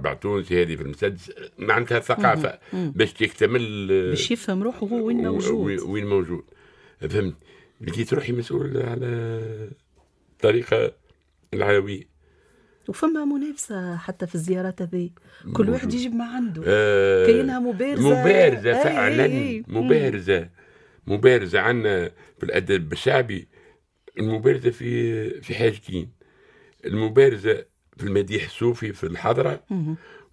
المربع التونسي، هذه في المسدس، معناتها ثقافة باش تكتمل، باش يفهم روحه هو وين موجود. وين موجود، فهمت؟ لقيت روحي مسؤول على الطريقة العلوية. وفما منافسة حتى في الزيارات هذه، كل واحد يجيب ما عنده، كاينها مبارزة. مبارزة فعلا. أي. مبارزة، مبارزة عندنا في الأدب الشعبي. المبارزة في حاجتين: المبارزة في المديح الصوفي في الحضرة،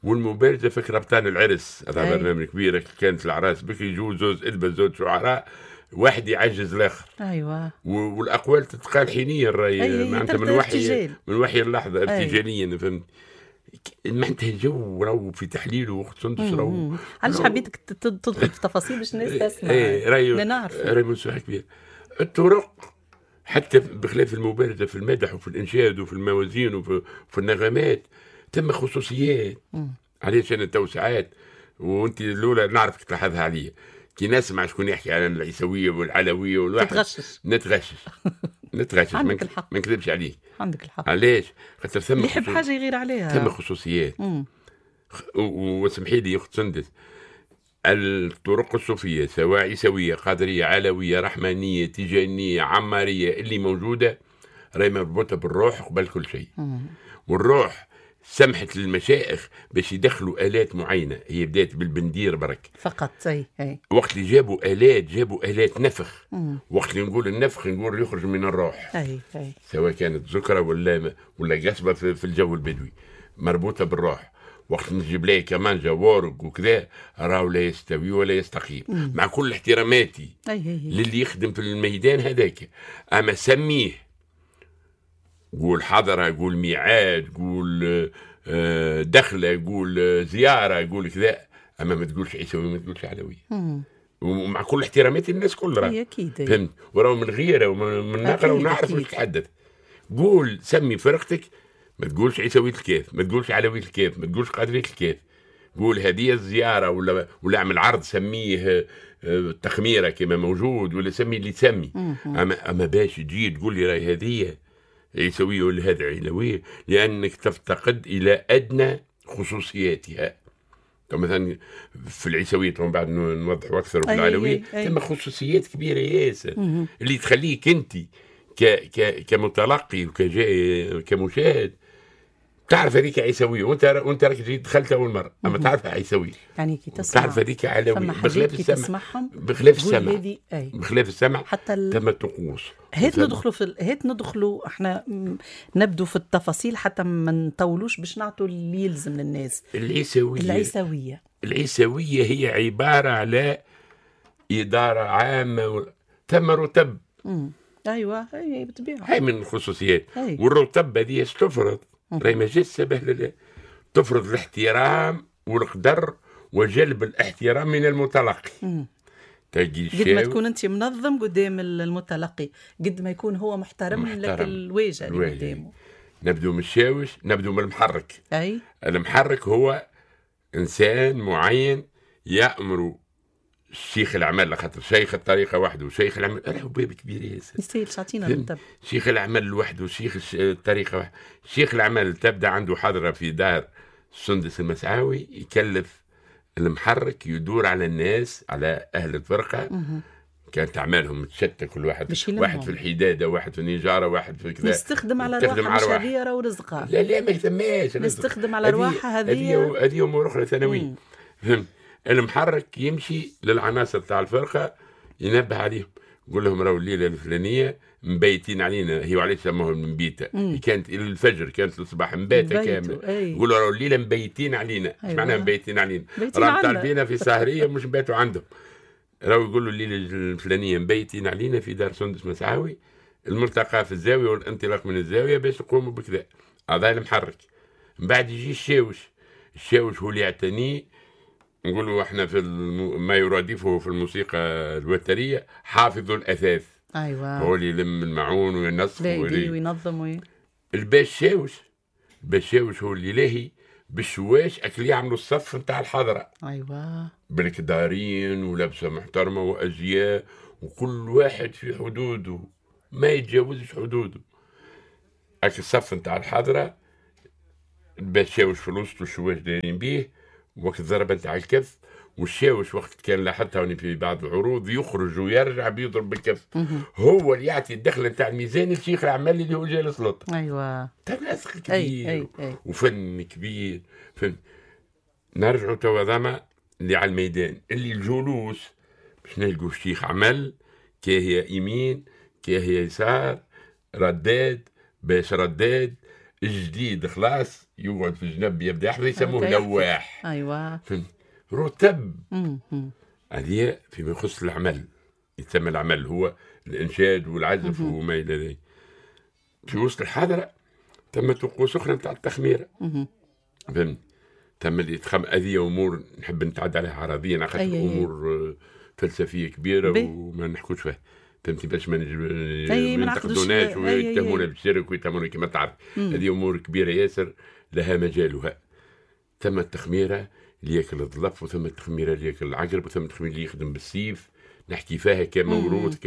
والمبارزة في كربطان العرس. هذا برنامج كبير كانت الأعراس بكري، يجوا زوز إدبة، زوز شعراء، واحد يعجز الاخر. والاقوال تتقال حينيا، الراي معناتها من وحي اللحظه، ارتجاليا، فهمت؟ معناتها الجو راهو في تحليله وقت سندس راهو. علاش حبيتك تدخل في تفاصيل؟ باش الناس تسمع. ايه، راي نعرف. راي موسوعة كبير الطرق، حتى بخلاف المبارزة في المدح وفي الانشاد وفي الموازين وفي النغمات، ثم خصوصيات. علاش انا تو ساعات، وانت الاولى نعرفك تلاحظها عليا، كي نسمع شكون يحكي على العيسويه والعلويه والواحد تتغشش. نتغشش نتغشش. عندك الحق. ما نكذبش عليك. عندك الحق. علاش؟ خاطر ثم اللي يحب حاجة يغير عليها. ثم خصوصيات. وسمحي لي اخت سندس، الطرق الصوفية سواء عيسويه، قادريه، علويه، رحمانيه، تيجانيه، عماريه، اللي موجودة راهي مربوطة بالروح قبل كل شيء. والروح سمحت للمشايخ باش يدخلوا آلات معينة. هي بدأت بالبندير برك. فقط، أي. وقت اللي جابوا آلات، جابوا آلات نفخ. وقت اللي نقول النفخ نقول يخرج من الروح، أي أي. سواء كانت زكرة ولا قصبة في الجو البدوي مربوطة بالروح. وقت نجيب ليه كمانجا وورق وكذا راهو لا يستوي ولا يستقيم. مع كل احتراماتي أي أي. للي يخدم في الميدان هذاك، اما سميه، قول حضرة، قول ميعاد، قول دخلة، قول زيارة، قول كذا، أما ما تقولش عيسوي، ما تقولش علوية. ومع كل احتراماتي للناس كل. أكيد. فهمت؟ وراهو من غيره ومن نقرا ونعرف واش نتحدث. قول، سمي فرقتك، ما تقولش عيسوية الكاف، ما تقولش علوية الكاف، ما تقولش قادرية الكاف. قول هذه الزيارة ولا اعمل عرض سميه التخميرة كما موجود، ولا سمي اللي تسمي. أما باش تجي تقول لي راهي هذه عيسوية ولا هذا علوية، لأنك تفتقد إلى أدنى خصوصياتها. مثلا في العيسوية من بعد نوضحوا أكثر، وفي العلوية ثم خصوصيات كبيرة ياسر اللي تخليك أنت ك ك كمتلقي وكجاي كمشاهد تعرف هذيك عيسويه، وانت راك جيت دخلت اول مره، اما تعرفها عيسويه. يعني كي تسمع تعرف هذيك علويه. بخلاف السمع، بخلاف السمع، بخلاف السمع حتى ثم الطقوس. هات ندخلوا احنا نبدو في التفاصيل حتى ما نطولوش باش نعطوا اللي يلزم للناس. العيسويه. العيسويه. العيسويه هي عبارة على ادارة عامة ثم رتب. ايوه، اي بالطبيعه. هاي من الخصوصيات. والرتب هذه تفرض، راهي ما جاتش سبهلله، تفرض الاحترام والقدر وجلب الاحترام من المتلقي. تجي قد ما تكون انت منظم قدام المتلقي، قد ما يكون هو محترم، محترم لك الواجهة اللي قدامه. نبدو من الشاوش، نبدو من المحرك. اي. المحرك هو انسان معين يامر شيخ العمل، خاطر شيخ الطريقة وحده وشيخ العمل راهو باب كبير ياسر. يستاهل تعطينا بالضبط. شيخ العمل لوحده وشيخ الطريقة وحده. شيخ العمل تبدا عنده حضره في دار سندس المسعاوي، يكلف المحرك يدور على الناس، على اهل الفرقه. كانت اعمالهم متشتته، كل واحد واحد في الحداده، واحد في النجاره، واحد في كذا. نستخدم على رواحها، مش هذه راهو رزقها. لا لا، ما يسماش. نستخدم على رواحها هذه. هذه امور اخرى ثانويه، فهمت؟ المحرك يمشي للعناصر تاع الفرقه، ينبه عليهم، يقول لهم راهو الليلة الفلانية مبيتين علينا. هي وعلاش سموها المبيته؟ كانت الى الفجر، كانت الصباح مباتة كامله. يقولوا راهو الليلة مبيتين علينا. ايش معناها مبيتين علينا؟ راهم طالبينا في سهريه، مش نباتوا عندهم. راهو يقولوا الليلة الفلانية مبيتين علينا في دار سندس مسعاوي، الملتقى في الزاوية والانطلاق من الزاوية باش نقوموا بكذا. هذا المحرك. من بعد يجي الشاوش. الشاوش هو اللي يعتني، نقولوا احنا في ما يرادفه في الموسيقى الوتريه حافظ الاثاث. هو اللي يلم المعون وينظم. وينظم الباشاوش، الباشاوش هو اللي لاهي بالشواش اكل يعملوا الصف نتاع الحضره. بالكدارين ولبسه محترمه وازياء، وكل واحد في حدوده ما يتجاوزش حدوده. اكل الصف نتاع الحضرة. الشاوش في الوسط والشواش دايرين بيه، وقت الضربة نتاع الكف، والشاوش وقت كان لاحظتها في بعض العروض يخرج ويرجع بيضرب بالكف. هو اللي يعطي الدخل نتاع الميزان لشيخ العمل اللي هو جالس لوط. ايوه تناسق كبير. أي أي أي. وفن كبير. فن. نرجعوا توا زعما اللي على الميدان اللي الجلوس باش نلقوا الشيخ عمل كي هي يمين كي هي يسار، رداد باش رداد الجديد خلاص يقعد في الجنب يبدا يحفظ، يسموه لواح. ايوه رتب. هذه فيما يخص العمل، يتسمى العمل هو الانشاد والعزف وما الى ذلك. في وسط الحضرة تم طقوس اخرى نتاع التخميره. فهمت؟ تم اللي تخم هذه امور نحب نتعدى عليها عرضيا خاطر امور فلسفية كبيرة وما نحكوش فيها. فهمتي؟ باش ما ينتقدوناش ويتهمونا بالشرك ويتهمونا كما تعرف. هذه امور كبيرة ياسر لها مجالها. ثم التخميره اللي ياكل الظلف، وثم التخميره اللي ياكل العقرب، وثم التخميره اللي يخدم بالسيف. نحكي فيها كموروث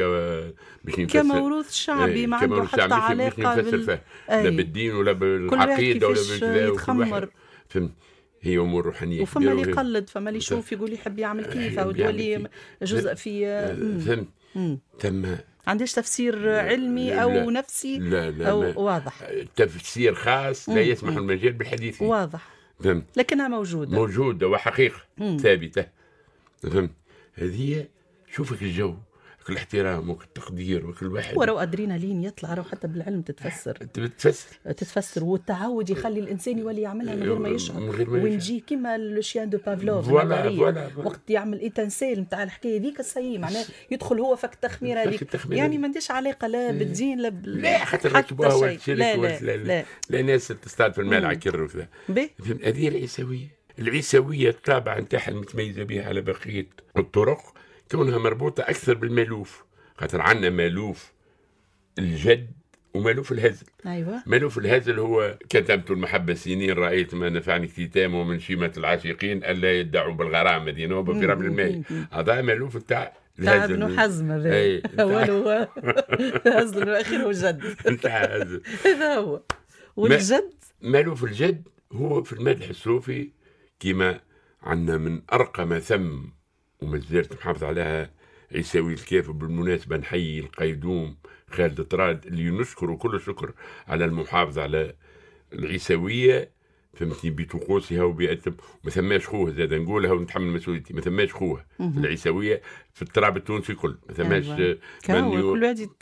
باش نفسر كموروث شعبي ما عنده حتى علاقة بال... لا بالدين ولا بالعقيدة ولا بالكذا. يتخمر. فهمت؟ هي امور روحانية. وفما اللي يقلد، فما اللي يشوف يقول يحب يعمل كيف او تولي جزء في. فهمت؟ ثم عندهاش تفسير علمي او لا نفسي لا لا او واضح، تفسير خاص لا يسمح المجال بالحديث فيه. واضح. فهمت؟ لكنها موجودة، موجودة وحقيقة ثابتة. فهمت؟ هذه شوفك الجو، كل احترام وكل تقدير وكل واحد. ورو ادرينالين يطلع، رو حتى بالعلم تتفسر. تتفسر، والتعود يخلي الانسان يولي يعملها من غير ما يشعر. ونجي كيما le chien de Pavlov وقت يعمل étincelle نتاع الحكاية ذيك السي، معناه يدخل هو فك التخميره هذيك. يعني ما عنديش علاقة لا بالدين لا بال... لا خاطر ركبوها ولا لا لا لا ناس تصطاد في المال عكر وكذا. هذه العيسويه. العيسويه الطابع نتاعها المتميزة بها على بقية الطرق كونها مربوطة أكثر بالمالوف، خاطر عندنا مالوف الجد ومالوف الهزل. أيوة. مالوف الهزل هو كتمت المحبة سنين رأيت ما نفعني اكتتام ومن شيمة العاشقين ألا يدعوا بالغرام هذه نوبة في رمل الماء. هذا مالوف تاع الهزل. ابن حزم هذا أوله هزل وآخره جد. هذا هو. والجد مالوف الجد هو في المدح الصوفي كما عندنا من أرقى ما ثم وما زالت محافظ عليها عيساوي الكاف. وبالمناسبة نحيي القيدوم خالد طراد اللي نشكره كل الشكر على المحافظة على العيساوية، فهمتني، بطقوسها وبأتم. ما ثماش خوه زاد نقولها ونتحمل مسؤوليتي، ما ثماش خوه في العيساوية في التراب التونسي كل، ما ثماش.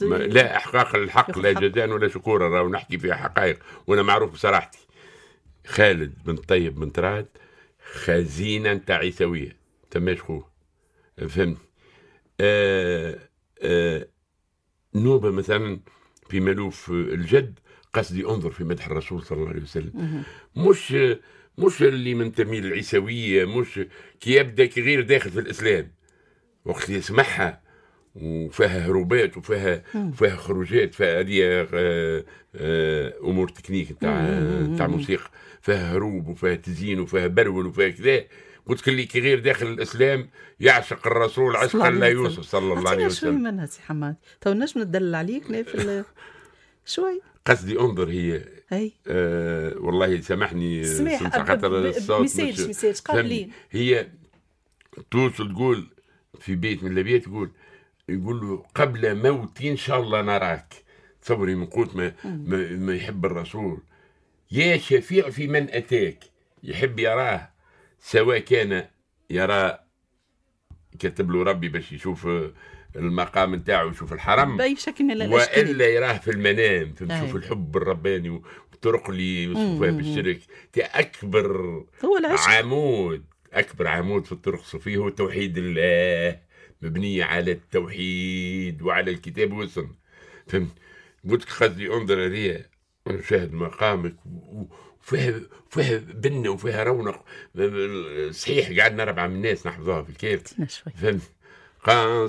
لا إحقاق للحق لا جزاء ولا شكورا، راهو نحكي فيها حقائق وأنا معروف بصراحتي. خالد بن طيب بن طراد خزينة نتاع عيساوية، ثماش خوه، فهمت؟ نوبة مثلا في ملوف الجد قصدي انظر في مدح الرسول صلى الله عليه وسلم، مش اللي منتمي للعيسوية، مش كي يبدا كي غير داخل في الإسلام وقت اللي يسمعها وفيها هروبات وفيها خروجات، فهذه امور تكنيك تاع موسيقى، فيها هروب وفيها تزيين وفيها برول وفيها كذا. قلت لك كي غير داخل الاسلام يعشق الرسول عشقا لا يوصف صلى الله عليه وسلم. شوي منها سي حماد، تو نجم ندلل عليك في شوي. قصدي انظر هي اي والله سامحني سماح خاطر الصوت ميساج قابلين. هي توصل تقول في بيت من الابيات تقول، يقول له قبل موتي ان شاء الله نراك. تصوري من قوت ما يحب الرسول، يا شفيع في من اتاك، يحب يراه سواء كان يرى كتب له ربي باش يشوف المقام نتاعو يشوف الحرم باي شكل من الاشكال، والا يراه في المنام، فنشوف الحب الرباني والطرق اللي يوصفوها بالشرك. اكبر هو العشق، عمود، اكبر عمود في الطرق الصوفية هو توحيد الله، مبنية على التوحيد وعلى الكتاب والسنة. فهمت؟ قلت لك قصدي انظر هذه ونشاهد مقامك وفيها بنه وفيها رونق. صحيح قعدنا 4 من الناس نحفظوها في الكيف. فهمت؟